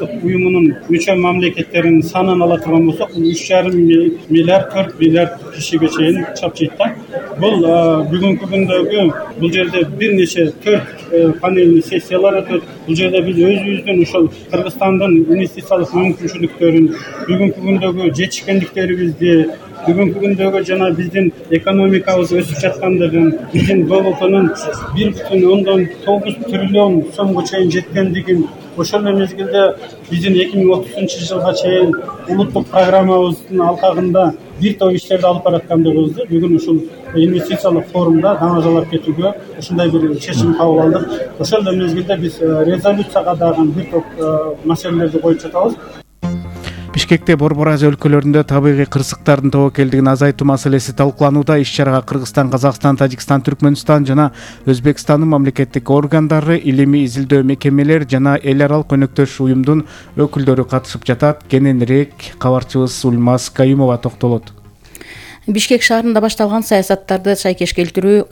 ынтымакташтык уюмунун мүчө мамлекеттеринин санын ала турган болсок, 3,5 миллиард 4 миллиард кишиге чейин чапчыйт да. Бул бүгүнкү күндөгү бул жерде бир нече 4 панельный сессиялар өтөт. Бул жерде биз өзүбүздүн ушул Кыргызстандын инвестициялык мүмкүнчүлүктөрүн, бүгүнкү күндөгү жетишкендиктерибизди, бүгүнкү күндөгү жана биздин экономикабыз өсүп жаткандыгын, биздин БВПнын 1,9 триллион сомго чейин жеткендигин, ошол эле мезгилде биздин 2030 жылга чейин улуттук программабыздын алкагында бир топ иштерди алып бараткандыгыбызды бүгүн ушул инвестициялык форумда дамажалап кетүүгө ушундай бир чечим кабыл алдык. Ошол эле мезгилде биз резолюцияга дагы бир топ маселелерди коюп жатабыз. Бишкекте Борбор Азия өлкөлөрүндө табигый кырсыктардын тобокелдигин азайтуу маселеси талкууланууда. Иш-чарага Кыргызстан, Казакстан, Тажикстан, Түркмөнстан жана Өзбекстандын мамлекеттик органдары, илимий изилдөө мекемелер жана эл аралык өнөктөш уюмдун өкүлдөрү катышып жатат. Кененирээк кабарчыбыз Ульмаз Каюмова токтолот. Бишкек шаарында башталган саясаттарды шайкеш келтирүү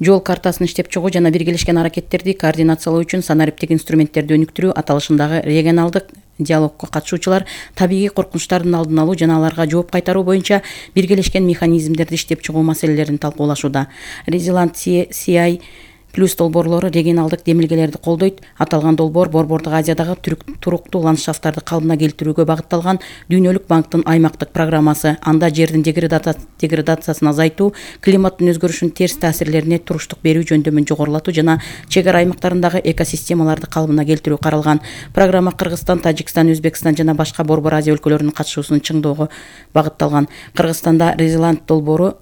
жол картасын иштеп чыгуу жана биргелешкен аракеттерди координациялоо үчүн санариптик инструменттерди өнүктүрүү аталышындагы регионалдык диалогко катышуучулар табигый коркунучтардын алдын алуу жана аларга жооп кайтаруу боюнча биргелешкен механизмдерди иштеп чыгуу маселелерин талкуулашууда. Resilient CI плюс долбоорлору регионалдык демилгелерди колдойт. Аталган долбоор Борбордук Азиядагы туруктуу ландшафттарды калыбына келтирүүгө багытталган Дүйнөлүк банктын аймактык программасы. Анда жердин деградациясын азайтуу, климаттын өзгөрүшүнүн терс таасирлерине туруштук берүү жөндөмүн жогорулатуу жана чек ара аймактарындагы экосистемаларды калыбына келтирүү каралган. Программа Кыргызстан, Тажикстан, Өзбекстан жана башка Борбор Азия өлкөлөрүнүн катышуусун чыңдоого багытталган. Кыргызстанда Resilient долбоору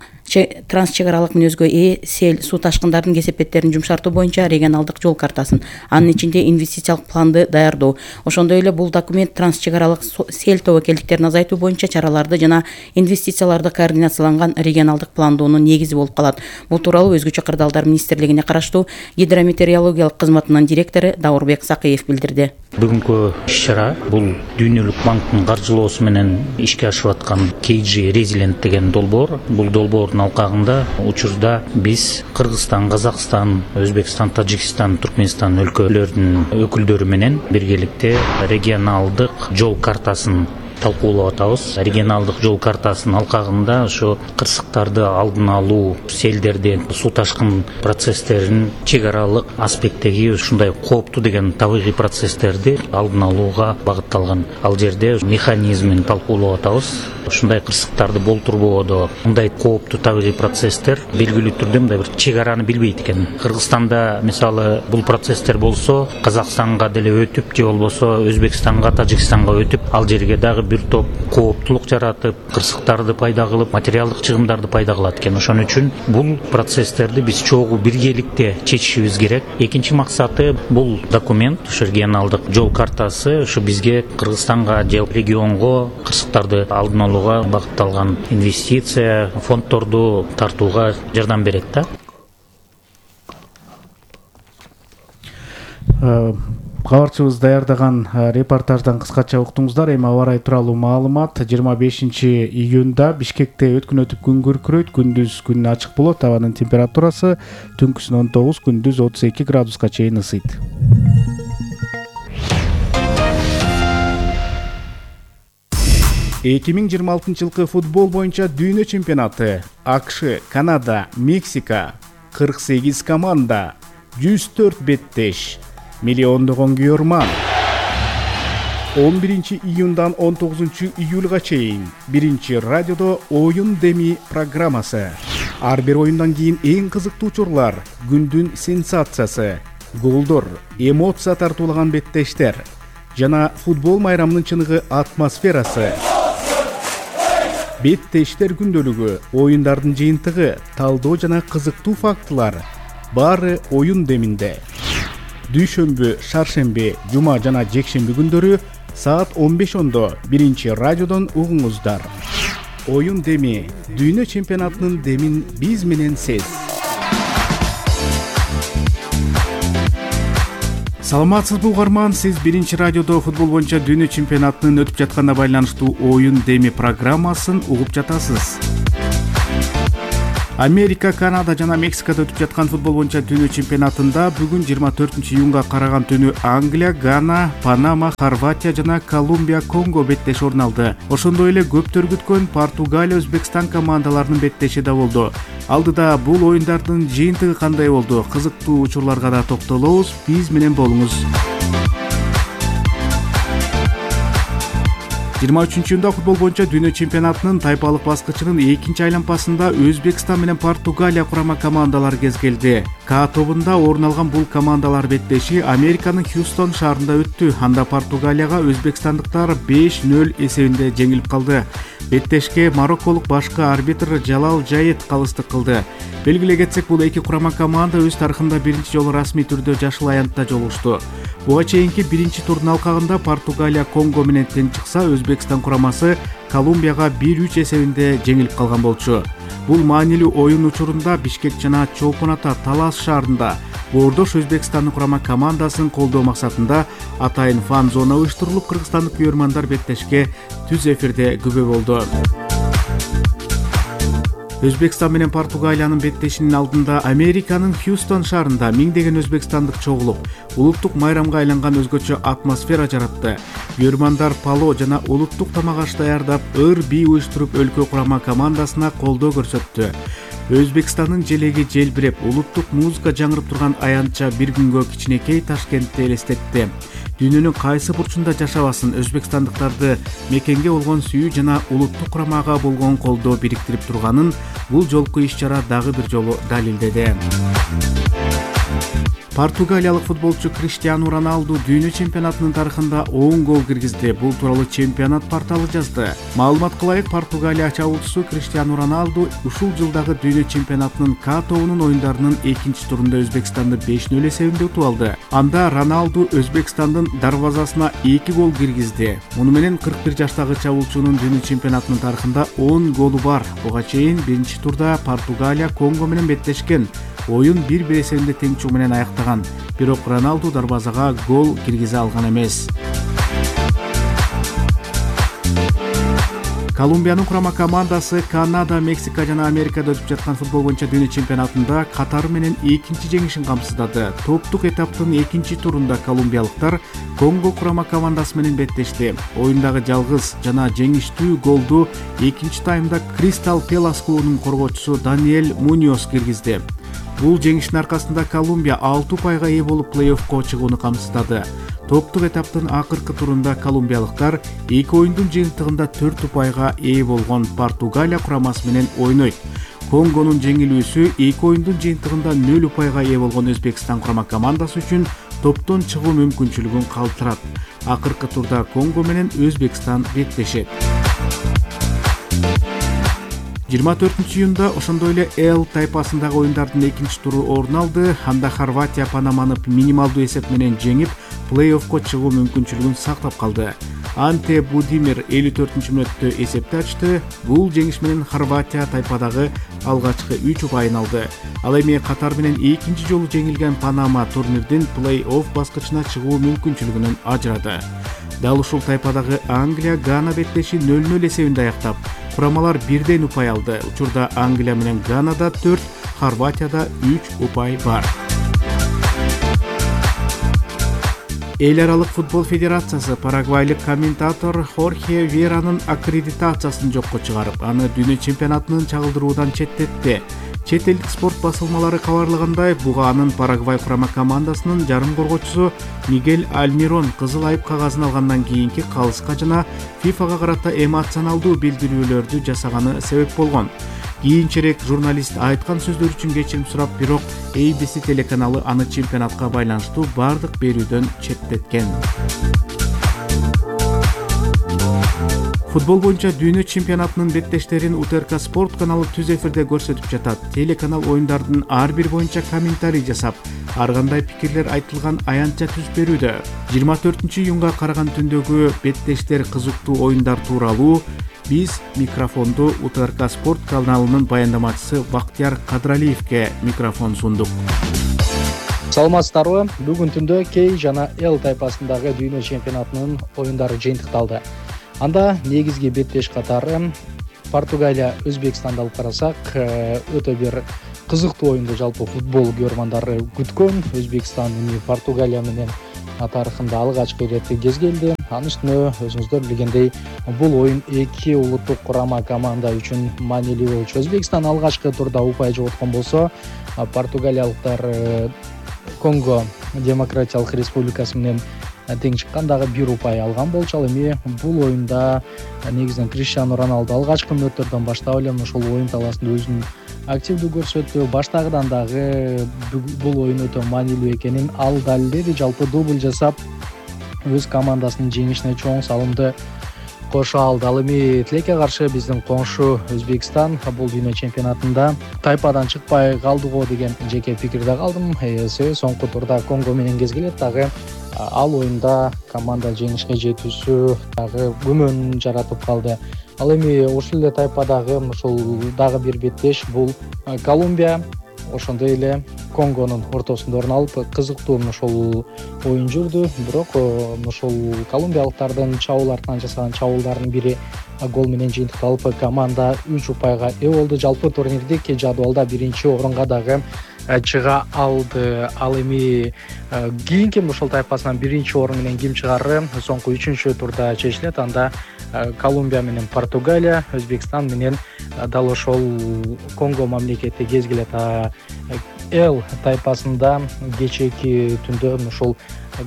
транс чек аралык мүнөзгө ээ сел, суу ташкындардын кесепеттерин жумшартуу боюнча регионалдык жол картасын, анын ичинде инвестициялык планды даярдоо. Ошондой эле бул документ транс чек аралык сел тобокелдиктерин азайтуу боюнча чараларды жана инвестицияларды координацияланган регионалдык пландоонун негизи болуп калат. Бул тууралуу Өзгөчө кырдаалдар министрлигине караштуу гидрометеорологиялык кызматынын директору Даурбек Сакыев билдирди. Бүгүнкү иш-чара бул Дүйнөлүк банктын каржылоосу менен ишке ашып аткан KG Resilient деген долбоор. Бул долбоордун алкагында учурда биз Кыргызстан, Казакстан, Өзбекстан, Тажикстан, Түркмөнстан өлкөлөрүнүн өкүлдөрү менен биргеликте регионалдык жол картасын талкуулап атабыз. Регионалдык жол картасынын алкагында ошо кырсыктарды алдын алуу, селдердин, суу ташкын процесстерин чек аралык аспекттеги ушундай кооптуу деген табигый процесстерди алдын алууга багытталган. Ал жерде механизмин талкуулап атабыз. Ушундай кырсыктарды болтурбоодо мындай кооптуу табигый процесстер белгилүү түрдө мындай бир чек араны билбейт экен. Кыргызстанда мисалы бул процесстер болсо Казакстанга деле өтүп же болбосо Өзбекстанга, Тажикстанга өтүп, ал жерге дагы бир топ кооптулук жаратып, кырсыктарды пайда кылып, материалдык чыгымдарды пайда кылат экен. Ошон үчүн бул процесстерди биз чогуу биргеликте чечишибиз керек. Экинчи максаты бул документ, ушу регионалдык жол картасы ушу бизге Кыргызстанга же регионго кырсыктарды алдын алууга багытталган инвестиция фонддорду тартууга жардам берет да. Кабарчыбыз даярдаган репортаждан кыскача уктуңуздар. Эми аба ырайы тууралуу маалымат. 25-июнда Бишкекте өткүн өтүп күн күркүрөйт. Күндүз күн ачык болот. Абанын температурасы түнкүсүн 19, күндүз 32 градуска чейин ысыйт. Эки миң 26 жылкы футбол боюнча дүйнө чемпионаты. АКШ, Канада, Мексика, 48 команда, 104 беттеш, миллиондогон күйөрман. 11-июндан 19-июлга чейин биринчи радиодо оюн деми программасы. Ар бир оюндан кийин эң кызыктуу учурлар, күндүн сенсациясы, голдор, эмоция тартуулаган беттештер жана футбол майрамынын чыныгы атмосферасы. Беттештер күндөлүгү, оюндардын жыйынтыгы, талдоо жана кызыктуу фактылар баары оюн деминде. Дүйшөмбү, шаршемби, жума жана жекшемби күндөрү саат 15:00 биринчи радиодон угуңуздар. Оюн деми, дүйнө чемпионатынын демин биз менен сез. Саламатсызбы угарман, сиз биринчи радиодо футбол боюнча дүйнө чемпионатынын өтүп жатканына байланыштуу оюн деми программасын угуп жатасыз. Америка, Канада жана Мексикада өтүп жаткан футбол боюнча дүйнө чемпионатында бүгүн 24-июнга караган түнү Англия, Гана, Панама, Хорватия жана Колумбия, Конго беттеш орун алды. Ошондой эле көптөр күткөн Португалия, Өзбекстан командаларынын беттеши да болду. Алдыда бул оюндардын жыйынтыгы кандай болду? Кызыктуу учурларга да токтолобуз. Биз менен болуңуз. 23-июнда футбол боюнча дүйнө чемпионатынын тайпалык баскычынын экинчи айланпасында Өзбекстан менен Португалия курама командалары кезгелди. К тобунда орун алган бул командалар беттеши Американын Хьюстон шаарында өттү. Анда Португалияга өзбекстандыктар 5-0 эсебинде жеңилип калды. Беттешке марокколук башкы арбитр Жалал Жайет калыстык кылды. Белгилей кетсек, бул эки курама команда өз тарыхында биринчи жолу расмий түрдө жашыл аянтта жолугушту. Буга чейинки биринчи турдун алкагында Португалия Конго менен тең чыкса, Өзбекстан курамасы Колумбияга 1-3 эсебинде жеңилип калган болчу. Бул маанилүү оюн учурунда Бишкек жана Чолпон Ата Талас шаарында боордош Өзбекстандын курама командасын колдоо максатында атайын фан зона уюштурулуп, кыргызстандык күйөрмандар беттешке түз эфирде күбө болду. Өзбекстан менен Португалиянын беттешинин алдында Американын Хьюстон шаарында миңдеген өзбекстандык чогулуп, улуттук майрамга айланган өзгөчө атмосфера жаратты. Күйөрмандар пало жана улуттук тамак аш даярдап, ыр-бий уюштуруп, өлкө курама командасына колдоо көрсөттү. Өзбекстандын желеги желбиреп, улуттук музыка жаңырып турган аянтча бир күнгө кичинекей Ташкентти элестетти. Дүйнөнүн кайсы бурчунда жашабасын, өзбекстандыктарды мекенге болгон сүйүү жана улуттук курамага болгон колдоо бириктирип турганын бул жолку иш-чара дагы бир жолу далилдеди. Португалиялык футболчу Криштиану Роналду дүйнө чемпионатынын тарыхында 10 гол киргизди. Бул тууралуу чемпионат порталы жазды. Маалымат кылайык, Португалия чабуучусу Криштиану Роналду ушул жылдагы дүйнө чемпионатынын К тобунун оюндарынын экинчи турунда Өзбекстанды 5-0 эсебинде утуп алды. Анда Роналду Өзбекстандын дарвазасына 2 гол киргизди. Муну менен 41 жаштагы чабуучунун дүйнө чемпионатынын тарыхында 10 голу бар. Буга чейин биринчи турда Португалия Конго менен беттешкен. Оюн 1-1 эсебинде тең чуу менен аяктаган. Бирок Роналду дарбазага гол киргизе алган эмес. Колумбиянын курама командасы Канада, Мексика жана Америкада өтүп жаткан футбол боюнча дүйнө чемпионатында катары менен экинчи жеңишин камсыздады. Топтук этаптын экинчи турунда колумбиялыктар Конго курама командасы менен беттешти. Оюндагы жалгыз жана жеңиштүү голду экинчи таймда Кристал Пелас клубунун коргоочусу Даниэль Муньос киргизди. Бул жеңиштин аркасында Колумбия 6 упайга ээ болуп плей-оффко чыгууну камсыздады. Топтук этаптын акыркы турунда колумбиялыктар 2 оюндун жыйынтыгында 4 упайга ээ болгон Португалия курамасы менен ойнойт. Конгонун жеңилүүсү 2 оюндун жыйынтыгында 0 упайга ээ болгон Өзбекстан курама командасы үчүн топтон чыгуу мүмкүнчүлүгүн калтырат. Акыркы турда Конго менен Өзбекстан беттешет. 24-июнда ошондой эле Л тайпасындагы оюндардын экинчи туру орун алды. Анда Хорватия Панаманы минималдуу эсеп менен жеңип, плей-оффко чыгуу мүмкүнчүлүгүн сактап калды. Анте Будимир 54-мүнөттө эсепти ачты. Бул жеңиш менен Хорватия тайпадагы алгачкы 3 упайын алды. Ал эми Катар менен экинчи жолу жеңилген Панама турнирдин плей-офф баскычына чыгуу мүмкүнчүлүгүнөн ажырады. Дал ушул тайпадагы Англия Гана беттеши 0-0 эсебинде аяктап, курамалар бирден упай алды. Учурда Англия менен Ганада 4, Хорватияда 3 упай бар. Эл аралык футбол федерациясы парагвайлык комментатор Хорхе Веранын аккредитациясын жокко чыгарып, аны дүйнө чемпионатынын чагылдыруудан четтетти. Чет элдик спорт басылмалары кабарлагандай, буга анын Парагвай курама командасынын жарым коргоочусу Мигель Альмирон кызыл айып кагазын алгандан кийинки калыска жана ФИФАга карата эмоционалдуу билдирүүлөрдү жасаганы себеп болгон. Кийинчерээк журналист айткан сөздөр үчүн кечирим сурап, бирок ABC телеканалы аны чемпионатка байланыштуу бардык берүүдөн четтеткен. Футбол боюнча дүйнө чемпионатынын беттештерин УТРК спорт каналы түз эфирде көрсөтүп жатат. Телеканал оюндардын ар бир боюнча комментарий жасап, ар кандай пикирлер айтылган аянтча түз берүүдө. 24-июнга караган түндөгү беттештер кызыктуу оюндар тууралуу биз микрофонду УТРК спорт каналынын баяндамачысы Бактияр Кадралиевке микрофон сундук. Саламатсыздарбы? Бүгүн түндө Кей жана Л тайпасындагы дүйнө чемпионатынын оюндары жыйынтыкталды. Анда негизги беттеш катары Португалия Өзбекстанды алып карасак, өтө бир кызыктуу оюнду жалпы футбол көрөрмандары күткөн. Өзбекстан Португалия менен тарыхында алгачкы ирет кез келди. Анын үстүнө өзүңүздөр билгендей, бул оюн эки улуттук курама команда үчүн маанилүү болчу. Өзбекстан алгачкы турда упай жоготкон болсо, португалиялыктар Конго Демократиялык Республикасы менен тең чыккандагы бир упай алган болчу. Ал эми бул оюнда негизинен Криштиану Роналду алгачкы мүнөттөрдөн баштап эле ошол оюн талаасында өзүн активдүү көрсөттү. Баштагыдан дагы бул оюн өтө маанилүү экенин ал далилдеди. Жалпы дубль жасап, өз командасынын жеңишине чоң салымды кошо алды. Ал эми тилекке каршы биздин коңшу Өзбекстан бул дүйнө чемпионатында тайпадан чыкпай калды го деген жеке пикирде калдым. Себеби соңку турда Конго менен кезгелет, дагы ал оюнда команда жеңишке жетүүсү дагы күмөн жаратып калды. Ал эми ушул эле тайпадагы ушул дагы бир беттеш бул Колумбия, ошондой эле Конгонун ортосунда орун алып, кызыктуу ошол оюн жүрдү. Бирок ошол колумбиялыктардын чабуул артынан жасаган чабуулдарынын бири гол менен жыйынтыкталып, команда 3 упайга ээ болду. Жалпы турнирдик жадвалда биринчи орунга дагы чыга алды. Ал эми кийинки ошол тайпасынан биринчи орун менен ким чыгары соңку 3-чү турда чечилет. Анда Колумбия менен Португалия, Өзбекстан менен дал ошол Конго мамлекети кезгелет. Эл тайпасында кечээки түндө ошол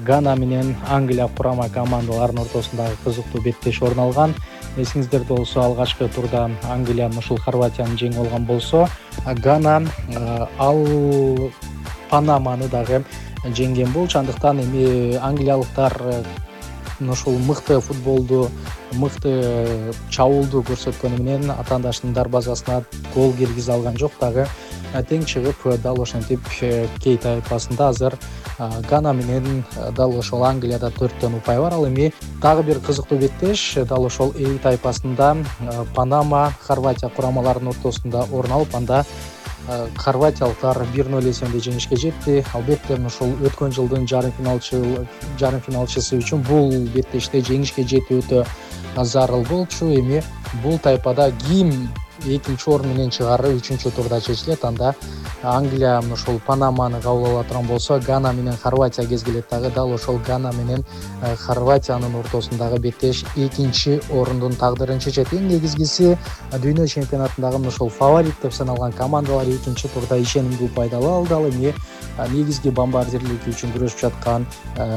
Гана менен Англия курама командаларынын ортосундагы кызыктуу беттеш орун алган. Эсиңиздерде болсо, алгачкы турда Англия ушул Хорватияны жеңип алган болсо, Гана ал Панаманы дагы жеңген болчу. Андыктан эми англиялыктар ушул мыкты футболду, мыкты чабуулду көрсөткөнү менен атаандаштын дарбазасына гол киргизе алган жок, дагы тең чыгып, дал ошентип кей тайпасында азыр Гана менен дал ошол Англияда 4төн упай бар. Ал эми дагы бир кызыктуу беттеш дал ошол Эй тайпасында Панама, Хорватия курамаларынын ортосунда орун алып, анда хорватиялыктар 1-0 эсебинде жеңишке жетти. Албетте ошол өткөн жылдын жарым финалчысы үчүн бул беттеште жеңишке жетүү өтө зарыл болчу. Эми бул тайпада ким экинчи орун менен чыгары 3-чү турда чечилет. Анда Англия ошол Панаманы кабыл ала турган болсо, Гана менен Хорватия кезгелет. Дагы дал ошол Гана менен Хорватиянын ортосундагы беттеш экинчи орундун тагдырын чечет. Эң негизгиси, дүйнө чемпионатындагы ошол фаворит деп саналган командалар 2-чү турда ишенимдүү пайдалы алды. Ал эми негизги бомбардирлик үчүн күрөшүп жаткан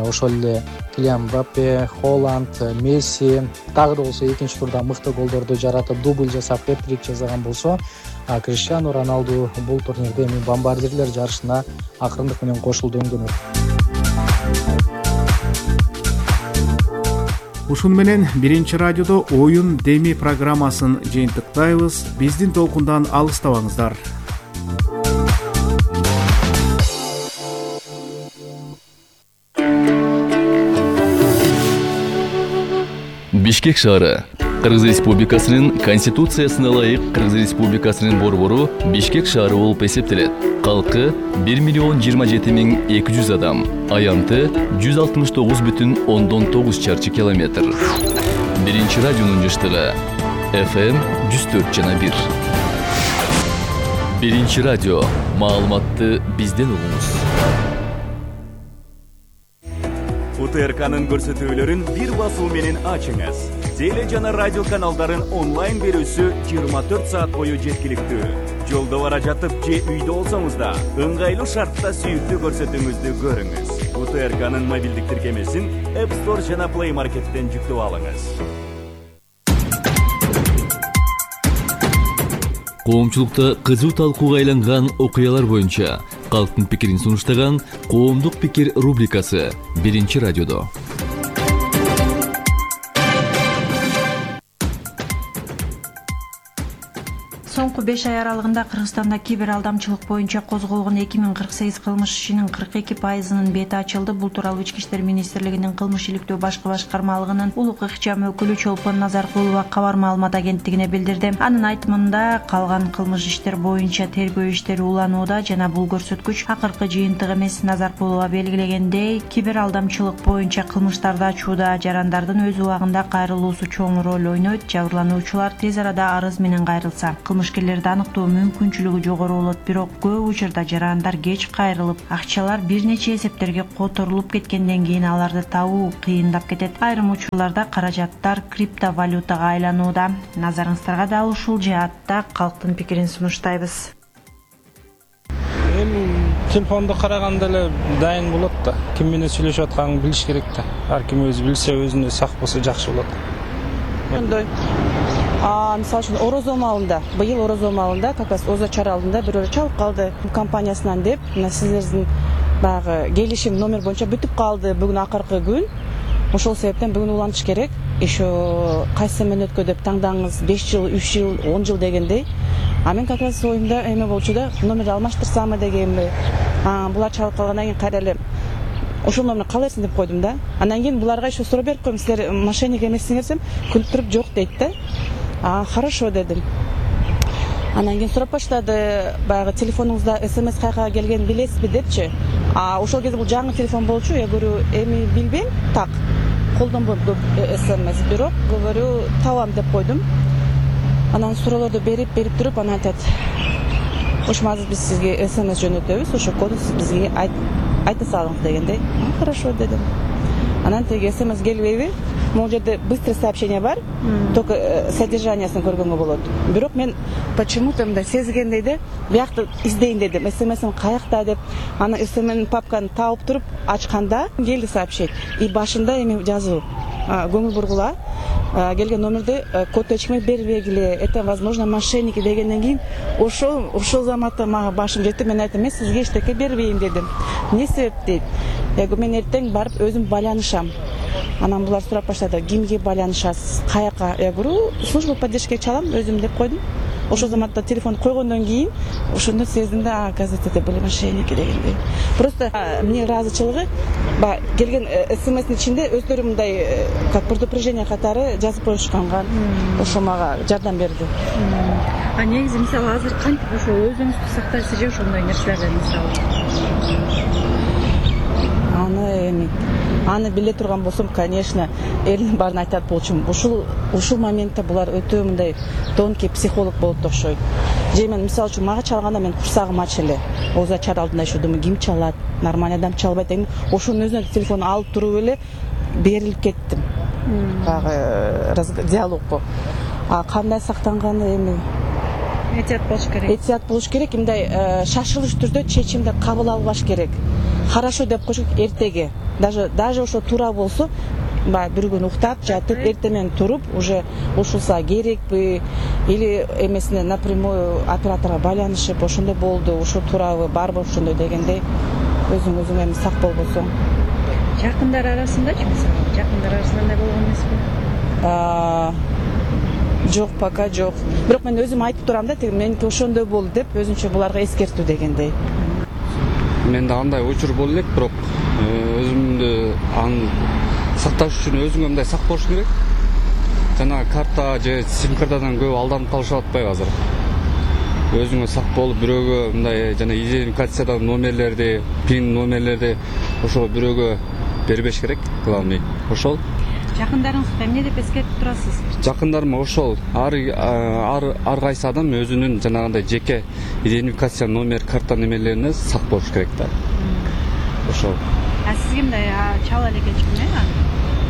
ошол эле Килиан Мбаппе, Холланд, Месси дагы да болсо 2-чү турда мыкты голдорду жаратып, дубль жасап, хэт-трик жасаган болсо, Криштиану Роналду бул турнирде эми бомбардирлер жарышына акырындык менен кошулду өңдөнөт. Ушун менен биринчи радиодо оюн деми программасын жыйынтыктайбыз. Биздин толкундан алыстабаңыздар. Бишкек шаары Кыргыз Республикасынын Конституциясына ылайык Кыргыз Республикасынын борбору Бишкек шаары болуп эсептелет. Калкы 1,027,200 адам, аянты 169,9 чарчы километр. Биринчи радионун жыштыгы FM 104,1. Биринчи радио, маалыматты бизден угуңуз. УТРКнын көрсөтүүлөрүн бир басуу менен ачыңыз. Теле жана радио каналдарын онлайн берүүсү 24 саат бою жеткиликтүү. Жолдо бара жатып же үйдө болсоңуз да, ыңгайлуу шартта сүйүктүү көрсөтүүңүздү көрүңүз. УТРКнын мобилдик тиркемесин App Store жана Play Market'тен жүктөп алыңыз. Коомчулукта кызуу талкууга айланган окуялар боюнча калктын пикирин сунуштаган Коомдук пикир рубрикасы биринчи радиодо. Соңку 5 ай аралыгында Кыргызстанда кибер алдамчылык боюнча козголгон 2048 кылмыш ишинин 42%-нын бети ачылды. Бул тууралуу Ички иштер министрлигинин кылмыш иликтөө башкы башкармалыгынын улук ыкчам өкүлү Чолпон Назаркулова кабар маалымат агенттигине билдирди. Анын айтымында калган кылмыш иштер боюнча тергөө иштери уланууда жана бул көрсөткүч акыркы жыйынтык эмес. Назаркулова белгилегендей, кибер алдамчылык боюнча кылмыштарды ачууда жарандардын өз убагында кайрылуусу чоң роль ойнойт. Жабырлануучулар тез арада арыз менен кайрылса, кылмышкерлерди аныктоо мүмкүнчүлүгү жогору болот. Бирок көп учурда жарандар кеч кайрылып, акчалар бир нече эсептерге которулуп кеткенден кийин аларды табуу кыйындап кетет. Айрым учурларда каражаттар криптовалютага айланууда. Назарыңыздарга да ушул жаатта калктын пикирин сунуштайбыз. Телефонду караганда эле дайын болот да. Ким менен сүйлөшүп атканын билиш керек да. Ар ким өзү билсе, өзүнө сак болсо жакшы болот. Мындай мисалы үчүн орозо маалында, быйыл орозо маалында как раз Озо чара алдында бирөө чалып калды компаниясынан деп, мына сиздердин баягы келишим номер боюнча бүтүп калды бүгүн акыркы күн. Ошол себептен бүгүн улантыш керек. Еще кайсы менөткө деп таңдаңыз, 5 жыл, 3 жыл, 10 жыл дегендей. А мен как раз оюмда эме болчу да, номерди алмаштырсамбы дегенби. Булар чалып калгандан кийин кайра эле ошол номерди кала берсин деп койдум да. Андан кийин буларга еще суроо берип коем, силер мошенник эмессиңер десем, күлүп туруп жок дейт да. Хорошо дедим. Андан кийин сурап баштады, баягы телефонуңузда СМС кайга келгенин билесизби депчи. Ошол кезде бул жаңы телефон болчу, я говорю, эми билбейм, так. Колдонбойм көп СМС, бирок говорю, табам деп койдум. Анан суроолорду берип туруп, анан айтат, ошо азыр биз сизге СМС жөнөтөбүз, ошо коду сиз бизге айта салыңыз дегендей. Хорошо дедим. Анан теги СМС келбейби? Могул жерде быстрый сообщение бар, только содержаниясын көргөнгө болот. Бирок мен почему-то мындай сезгендей де, биякты издейин дедим. СМС'ин каякта деп, аны СМС'ин папканы таап туруп ачканда келди сообщение. И башында эми жазуу, көңүл бургула, келген номерди код ачкмай бербегиле, это возможно мошенники дегенден кийин ошол заматта мага башым жетти. Мен айттым, мен сизге эчтеке бербейм дедим. Эмне себеп дейт? Я говорю, мен эртең барып өзүм байланышам. Анан булар сурап баштады, кимге байланышасыз, каяка? Я говорю, служба поддержки чалам өзүм деп койдум. Ошол заматта телефон койгондон кийин ошондо сездим да, оказывается, это были мошенники дегендей. Просто мне ыраазычылыгы, келген СМС'нин ичинде өздөрү мындай как предупреждение катары жазып коюшканган. Ошо мага жардам берди. Негизи мисалы азыр кантип ошо өзүңүздү сактайсыз же ошондой нерселерден мисалы? Аны биле турган болсом, конечно, элдин баарын айтат болчумун. Ушул моментте булар өтө мындай тонкий психолог болот да окшойт. Же мен мисалы үчүн мага чалганда мен курсагым ачы эле. Озо чар алдында еще думаю, ким чалат? Нормальный адам чалбайт эми. Ошонун өзүнө телефонду алып туруп эле берилип кеттим. Диалогго. Кандай сактанганы эми Этият болуш керек. Этият болуш керек, мындай шашылыш түрдө чечимди кабыл албаш керек. Хорошо деп коюш эртеге. Даже ошо туура болсо, бир күн уктап, жатып, эртемен туруп, уже ушулса керекпи, или эмесине напрямую операторго байланышып, ошондой болду, ушул туурабы, барбы ошондой дегендей, өзүң эми сак болбосоң. Жакындар арасындачы, мисалы, жакындар арасында андай болгон эмеспи? Жок, пока жок. Бирок мен өзүм айтып турам да, меники ошондой болду деп, өзүнчө буларга эскертүү дегендей. Менде андай учур болду элек, бирок өзүмдү аны сакташ үчүн өзүңө мындай сак болуш керек. Жана карта же сим картадан көп алданып калышып атпайбы азыр. Өзүңө сак болуп, бирөөгө мындай жана идентификациядан номерлерди, пин номерлерди ошо бирөөгө бербеш керек, главный. Ошол. Жакындарыңызга эмне деп эскертип турасыз? Жакындарыма ошол ар кайсы адам өзүнүн жанагындай жеке идентификация номер, карта немелерине сак болуш керек да. Ошол. Сизге мындай чала элек эчким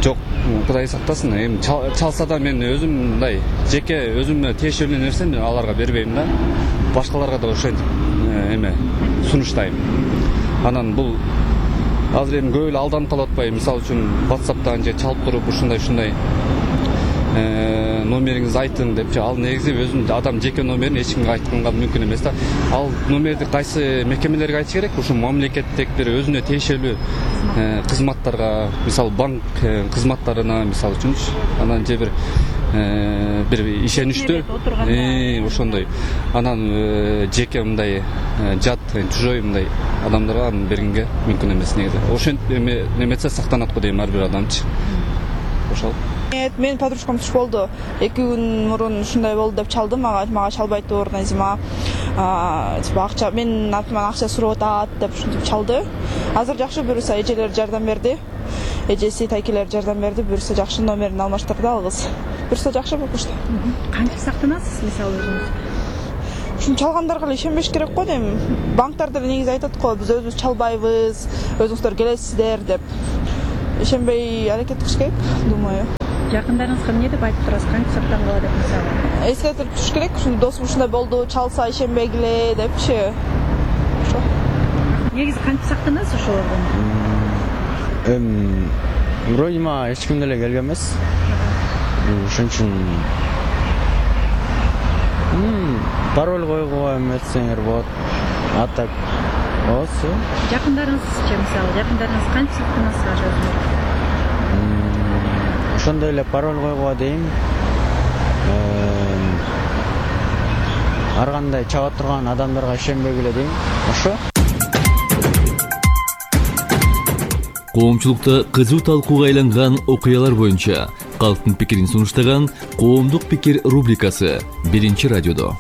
Жок, Кудай сактасын. Эми чалса да мен өзүм мындай жеке өзүмө тиешелүү нерсени аларга бербейм да. Башкаларга да ошентип сунуштайм. Анан бул азыр эми көп эле алданып калып атпайбы? Мисалы үчүн WhatsApp'тан же чалып туруп ушундай номериңизди айтың депчи, ал негизи өзүнүн адам жеке номерин эч кимге айтканга мүмкүн эмес да. Ал номерди кайсы мекемелерге айтыш керек? Ушул мамлекеттик бир өзүнө тиешелүү кызматтарга, мисалы банк кызматтарына, мисалы үчүн, анан же бир бир ишеничтүү ошондой анан жеке мындай жат чужой мындай адамдарга аны бергенге мүмкүн эмес негизи. Ошентип неметсе сактанат го дейм ар бир адамчы. Ошол. Менин подружкам туш болду. 2 күн мурун ушундай болду деп чалды мага чалбайт турна зима. Акча менин атыман акча сурап атат деп ушинтип чалды. Азыр жакшы, буюрса эжелер жардам берди. Эжеси тайкелер жардам берди, буюрса жакшы номерин алмаштырды алгыз. Буюрса жакшы болушту. Кантип сактанасыз мисалы өзүңүз? Ушун чалгандарга эле ишенбеш керек го дейм. Банктарда негизи айтат го, биз өзүбүз чалбайбыз, өзүңүздөр келесиздер деп. Ишенбей аракет кылыш керек, думаю. Жакындарыңызга эмне деп айтып турасыз? Кантип сактангыла деп мисалы? Эскертип туруш керек, ушундай досум ушундай болду, чалса ишенбегиле депчи. Ошо. Негизи кантип сактанасыз ошолордон? Вроде мага эч ким деле келген эмес. Ошон үчүн пароль койгуга эметсеңер болот. А так болсо. Жакындарыңызчы мисалы, жакындарыңыз кантип сактанасыз өзүңүз? Ошондой эле пароль койгуга дейм. Ар кандай чаба турган адамдарга ишенбегиле дейм. Ошо. Коомчулукта кызуу талкууга айланган окуялар боюнча калктын пикирин сунуштаган Коомдук пикир рубрикасы Биринчи радиодо.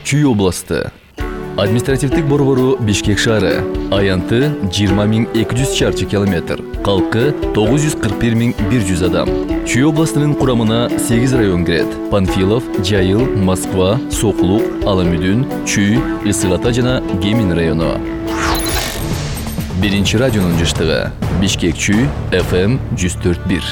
Чүй областы. Административдик борбору Бишкек шаары. Аянты 20.200 чарчы километр. Калкы 941.100 адам. Чүй областынын курамына 8 район кирет. Панфилов, Жайыл, Москва, Соклук, Аламүдүн, Чүй, Ысык Ата жана Гемин району. Биринчи радионун жыштыгы. Бишкек Чүй, FM 104.1.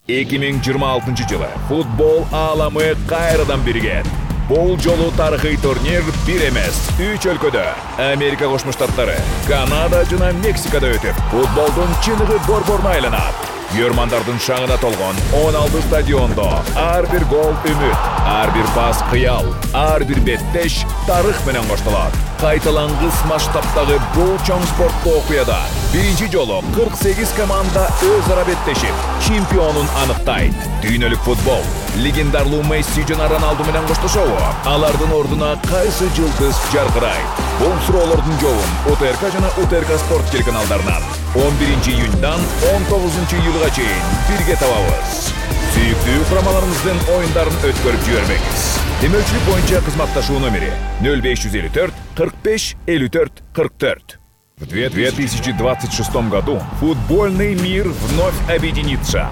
2026 жылы футбол ааламы кайрадан биригет. Бул жолу тарыхый турнир бир эмес, 3 өлкөдө, Америка Кошмо Штаттары, Канада жана Мексикада өтүп, футболдун чыныгы борборуна айланат. Көрмандардын шаңына толгон 16 стадиондо ар бир гол үмүт, ар бир пас кыял, ар бир беттеш тарых менен коштолот. Кайталангыс масштабтагы бул чоң спорттуу окуяда биринчи жолу 48 команда өз ара беттешип, чемпионун аныктайт. Дүйнөлүк футбол легендарлуу Месси жана Роналду менен коштошобу? Алардын ордуна кайсы жылдыз жаркырайт? Бул суроолордун жообун УТРК жана УТРК спорт телеканалдарынан 11 июньдан 19 июлга чейин бирге табабыз. Сүйүктүү курамаларыбыздын оюндарын өткөрүп жибербеңиз. Демөчүлүк боюнча кызматташуу номери 0554 45 54 44. В 2026 году футбольный мир вновь объединится.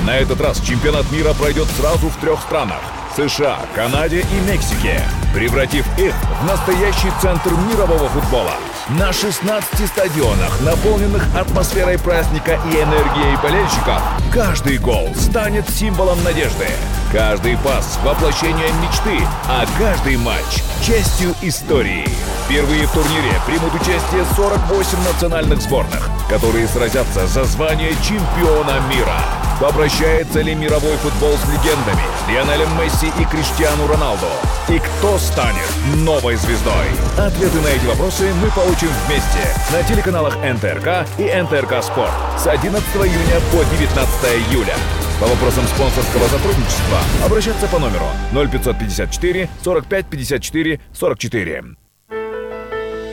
На этот раз чемпионат мира пройдет сразу в 3 странах – США, Канаде и Мексике, превратив их в настоящий центр мирового футбола. На 16 стадионах, наполненных атмосферой праздника и энергией болельщиков, каждый гол станет символом надежды. Каждый пас – воплощение мечты, а каждый матч – частью истории. Впервые в турнире примут участие 48 национальных сборных, которые сразятся за звание чемпиона мира. Попрощается ли мировой футбол с легендами Лионелем Месси и Криштиану Роналду? И кто станет новой звездой? Ответы на эти вопросы мы получим вместе на телеканалах НТРК и НТРК Спорт с 11 июня по 19 июля. По вопросам спонсорского сотрудничества обращаться по номеру 0554 45 54 44.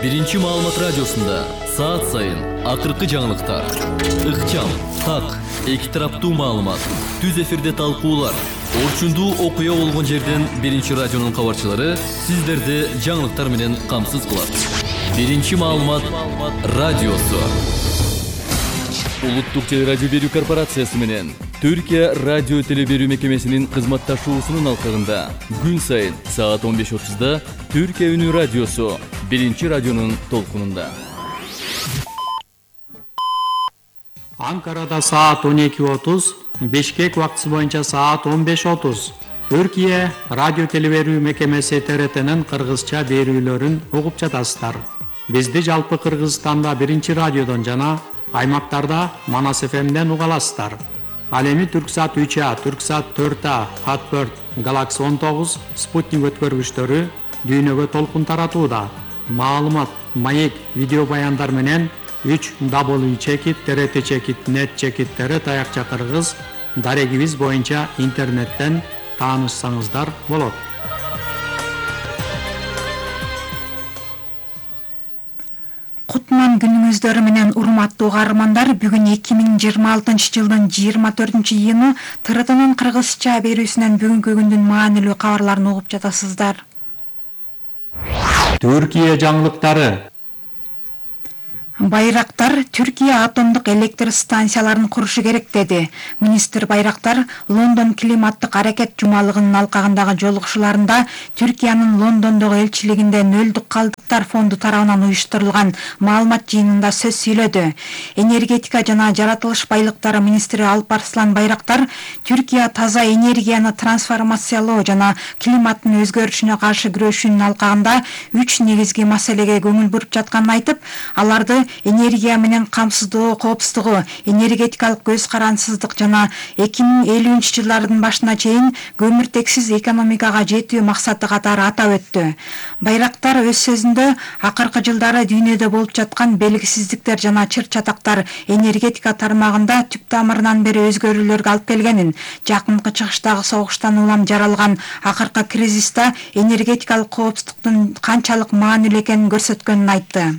Биринчи маалымат радиосунда саат сайын акыркы жаңылыктар, ыкчам, так, эки тараптуу маалымат, түз эфирде талкуулар, орчундуу окуя болгон жерден Биринчи радионун кабарчылары сиздерди жаңылыктар менен камсыз кылат. Биринчи маалымат радиосу. Улуттук телерадио берүү корпорациясы менен Түркия радио телеберүү мекемесинин кызматташуусунун алкагында күн сайын саат 15:30да Түркия үнү радиосу Биринчи радионун толкунунда. Анкарада саат 12:30, Бишкек убактысы боюнча саат 15:30. Түркия радио телеберүү мекемеси ТРТнин кыргызча берүүлөрүн угуп жатасыздар. Бизди жалпы Кыргызстанда Биринчи радиодон жана аймактарда Манас ФМден уга аласыздар. Ал эми Түрксат 3А, Түрксат 4А, Хатберт, Galaxy 19, Спутник өткөргүчтөрү дүйнөгө толкун таратууда. Маалымат маек видео баяндар менен 3w@trt.net таякча-кыргыз дарегибиз боюнча интернеттен таанышсаңыздар болот. Кутман күнүңүздөр менен урматтуу каармандар, бүгүн 2026 жылдын 24-июну ТРТнын кыргызча берүүсүнөн бүгүнкү күндүн маанилүү кабарларын угуп жатасыздар. Түркия жаңылыктары. Байрактар Түркия атомдук электр станцияларын курушу керек деди. Министр Байрактар Лондон климаттык аракет жумалыгынын алкагындагы жолугушууларында Түркиянын Лондондогу элчилигинде нөлдүк калдыктар фонду тарабынан уюштурулган маалымат жыйынында сөз сүйлөдү. Энергетика жана жаратылыш байлыктары министри Алпарслан Байрактар Түркия таза энергияны трансформациялоо жана климаттын өзгөрүшүнө каршы күрөшүүнүн алкагында 3 негизги маселеге көңүл буруп жатканын айтып, аларды энергия менен камсыздоо, коопсуздугу, энергетикалык көз карансыздык жана 2050 жылдардын башына чейин көмүртексиз экономикага жетүү максаты катары атап өттү. Байрактар өз сөзүндө акыркы жылдары дүйнөдө болуп жаткан белгисиздиктер жана чыр-чатактар энергетика тармагында түп тамырынан бери өзгөрүүлөргө алып келгенин, жакынкы чыгыштагы согуштан улам жаралган акыркы кризиста энергетикалык коопсуздуктун канчалык маанилүү экенин көрсөткөнүн айтты.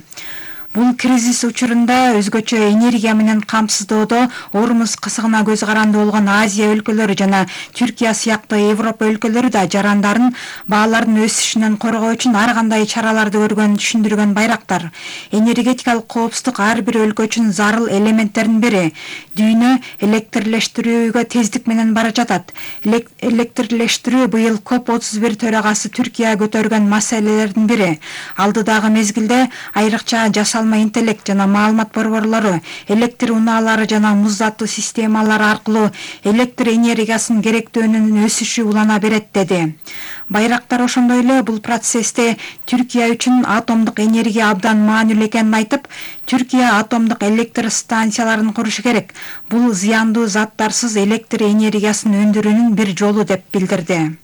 Бул кризис учурунда өзгөчө энергия менен камсыздоодо Ормуз кысыгына көз каранды болгон Азия өлкөлөрү жана Түркия сыяктуу Европа өлкөлөрү да жарандарын баалардын өсүшүнөн коргоо үчүн ар кандай чараларды көргөнүн түшүндүргөн Байрактар. Энергетикалык коопсуздук ар бир өлкө үчүн зарыл элементтердин бири. Дүйнө электрлештирүүгө тездик менен бара жатат. Электрлештирүү быйыл COP31 төрагасы Түркия көтөргөн маселелердин бири. Алдыдагы мезгилде айрыкча жасалма интеллект жана маалымат борборлору, электр унаалары жана муздатуу системалары аркылуу электр энергиясынын керектөөнүнүн өсүшү улана берет деди. Байрактар ошондой эле бул процессте Түркия үчүн атомдук энергия абдан маанилүү экенин айтып, Түркия атомдук электр станцияларын курушу керек. Бул зыяндуу заттарсыз электр энергиясын өндүрүүнүн бир жолу деп билдирди.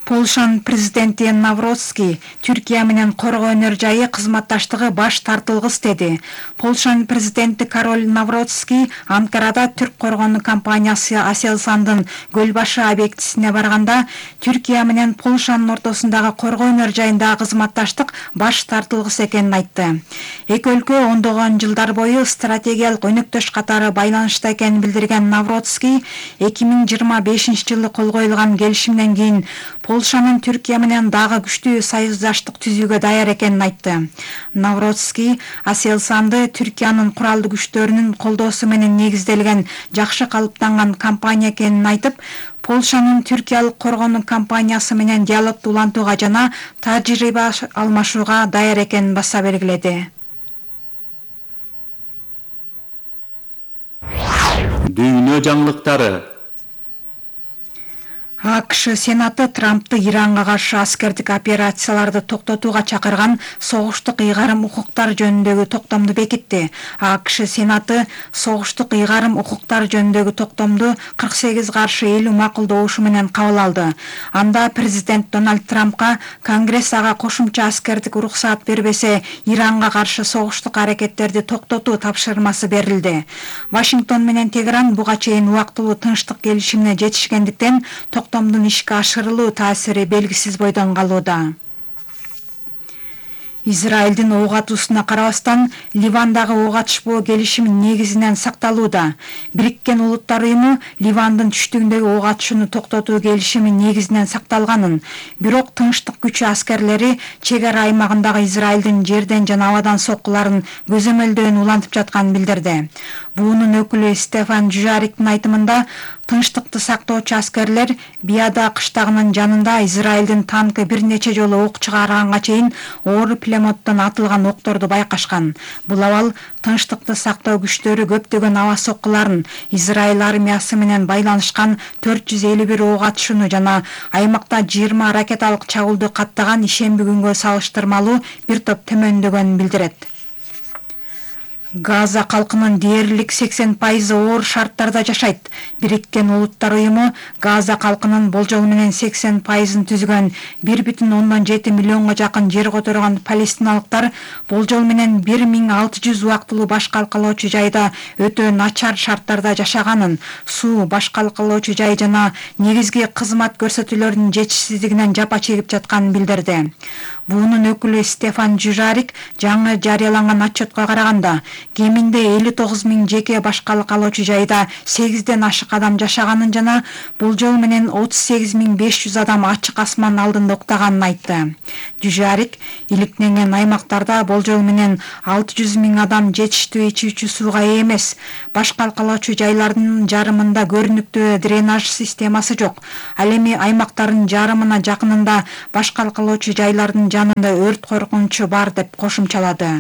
Полшанын президенти Навроцкий Түркия менен коргоо өнөр жайы кызматташтыгы баш тартылгыс деди. Полшанын президенти Кароль Навроцкий Анкарада түрк коргоонуу компаниясы Aselsan'дын Көлбашы объектисине барганда Түркия менен Полшанын ортосундагы коргоо өнөр жайындагы кызматташтык баш тартылгыс экенин айтты. Эки өлкө ондогон жылдар бою стратегиялык өнөктөш катары байланышта экенин билдирген Навроцкий 2025 жылы кол коюлган келишимден кийин Полшанын Түркия менен дагы күчтүү союздаштык түзүүгө даяр экенин айтты. Навроцкий Aselsan'ды Түркиянын куралдуу күчтөрүнүн колдоосу менен негизделген жакшы калыптанган компания экенин айтып, Полшанын түркиялык коргоонуу компаниясы менен диалогду улантууга жана тажрыйба алмашууга даяр экенин баса белгиледи. Дүйнө жаңылыктары. АКШ Сенаты Трампты Иранга каршы аскердик операцияларды токтотууга чакырган согуштук ыйгарым укуктар жөнүндөгү токтомду бекитти. АКШ Сенаты согуштук ыйгарым укуктар жөнүндөгү токтомду 48-50 макулдоошу менен кабыл алды. Анда президент Дональд Трампка Конгресс ага кошумча аскердик уруксаат бербесе, Иранга каршы согуштук аракеттерди токтотуу тапшырмасы берилди. Вашингтон менен Тегеран буга чейин убактылуу тынчтык келишимине жетишкендиктен токтомдун ишке ашырылуу таасири белгисиз бойдон калууда. Израилдин ок атуусуна карабастан Ливандагы ок атышпоо келишими негизинен сакталууда. Бириккен Улуттар уюму Ливандын түштүгүндөгү ок атышууну токтотуу келишими негизинен сакталганын, бирок тынчтык күчү аскерлери чек ара аймагындагы Израилдин жерден жана абадан соккуларын көзөмөлдөөнү улантып жатканын билдирди. Буунун өкүлү Стефан Дюжариктин айтымында, тынчтыкты сактоочу аскерлер Биада кыштагынын жанында Израилдин танкы бир нече жолу ок чыгарганга чейин оор пулеметтон атылган окторду байкашкан. Бул абал тынчтыкты сактоо күчтөрү көптөгөн аба соккуларын, Израиль армиясы менен байланышкан 451 ок атышууну жана аймакта 20 ракеталык чабуулду каттаган ишемби күнгө салыштырмалуу бир топ төмөндөгөнүн билдирет. Газа калкынын дээрлик 80% оор шарттарда жашайт. Бириккен Улуттар уюму Газа калкынын болжол менен 80%ын түзгөн 1,7 миллионго жакын жер которгон палестиналыктар болжол менен 1600 убактылуу баш калкалоочу жайда өтө начар шарттарда жашаганын, суу, баш калкалоочу жай жана негизги кызмат көрсөтүүлөрүнүн жетишсиздигинен жапа чегип жатканын билдирди. Буунун өкүлү Стефан Дюжарик жаңы жарыяланган отчетко караганда, кеминде 59 000 жеке баш калкалоочу жайда 8ден ашык адам жашаганын жана болжол менен 38 500 адам ачык асман алдында уктаганын айтты. Дюжарик иликтенген аймактарда болжол менен 600 000 адам жетиштүү ичүүчү сууга ээ эмес. Баш калкалоочу жайлардын жарымында көрүнүктүү дренаж системасы жок. Ал эми аймактардын жарымына жакынында баш калкалоочу жайлардын жанында өрт коркунучу бар деп кошумчалады.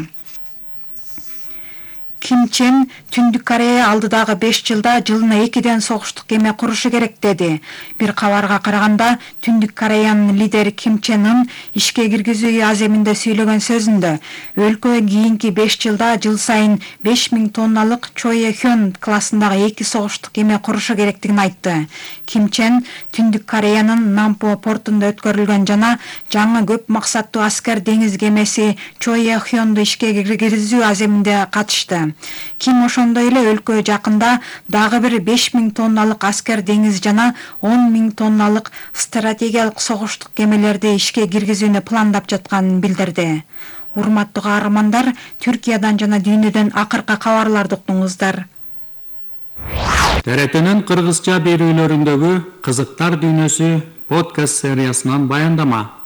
Ким Чен Түндүк Корея алдыдагы 5 жылда жылына 2ден согуштук кеме курушу керек деди. Бир кабарга караганда, Түндүк Кореянын лидери Ким Чен Ын ишке киргизүү аземинде сүйлөгөн сөзүндө өлкө кийинки 5 жылда жыл сайын 5000 тонналык Чое Хён классындагы 2 согуштук кеме курушу керектигин айтты. Ким Чен Түндүк Кореянын Нампо портунда өткөрүлгөн жана жаңы көп максаттуу аскер деңиз кемеси Чое Хёнду ишке киргизүү аземинде катышты. Ким ошондой эле өлкө жакында дагы бир 5000 тонналык аскер деңиз жана 10 000 тонналык стратегиялык согуштук кемелерди ишке киргизүүнү пландап жатканын билдирди. Урматтуу каармандар, Түркиядан жана дүйнөдөн акыркы кабарларды уктуңуздар. ТРТнин кыргызча берүүлөрүндөгү кызыктар дүйнөсү подкаст сериясынан баяндама.